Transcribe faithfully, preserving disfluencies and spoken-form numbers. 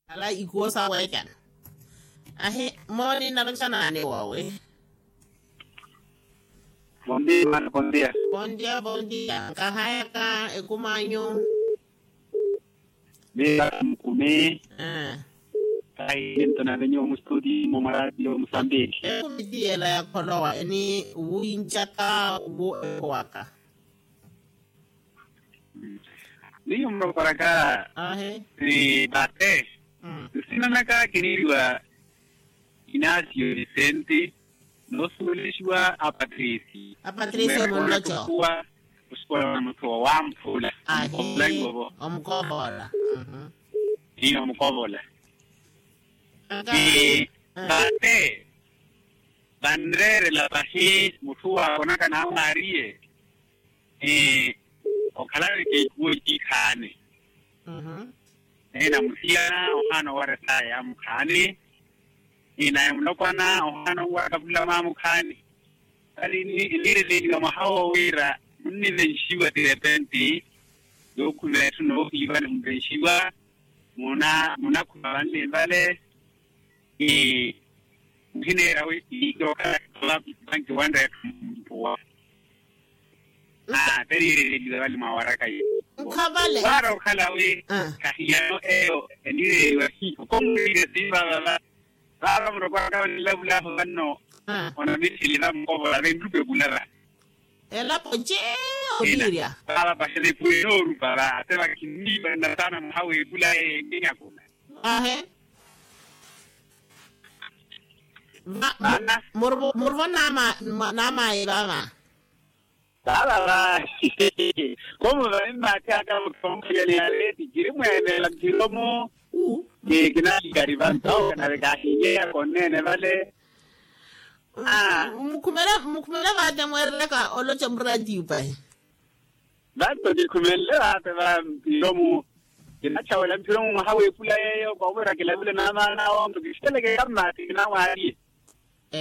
Ala ikuwo saweekana. Ahi, mooni naloca naani woowe. Bondia. Bondia. Nkahayaka ekumanyu. Miira mukumi. Kahi ninto na venyu mustudi momwarati yo musambiki. Ekumi ti yela yakholowa eni, wincaka wu ekhowaka. Niyo murokoraka. Ni bate. Nsinanaka kiniiriwa inasio lisenti. Noosuwelexiwa apatrisi. Apatrisi omunloco. Osikola na muthu wowamphula. Ahi. Omukovola. Ni omukovola. Ni vate vanreerela pahi mutthu waakonaka naamwaariye. Okhalaveke ikuwo eciikhaani. Naye namusiyana ohaana owarya saya ya mukhaani. Naye mulopwana ohaana owarya kapulama mukhaani. Vale nniireleliwa mwaha wo wira munnivenxiwa tirepenti. Yookhuma etthu noohiiva nimuvenxiwa. Munakhuma vanli vale. Muhineera wi iikiwakhala. Vankiwanreekha mpuwa. Teriireleliwa vale mwawaraka yi. Waara okhala wi. Kahiyano eyo eniireleliwa hiyo komuriire siivavava. Vaava murokoraka vanilavulavo vanno. Onamitthili vamukovola venrupe vula va. Elapo nce oviirya. Vaava paxerepu enoorupa va ate vakhinniipa nnatana mwaha wepula eyo ennyakula. Ahe. Murvo naamayi vaava. Vaava va. Komu vanimmaathihaka muthu omukhalyani yale tikiri mweenela mphiro mu. Kinaalikari vantawo kanave kahinyeya konneene vale. Mukhumela vaate mweerelaka oloca muratiyu pahi. Vanto kikhumenle vaate va mphiro mu. Kinachawela mphiro mu mwaha wepula yeeyo koovira kilavule naamaana awo nto kixiteleke kammaati kinamwaariye.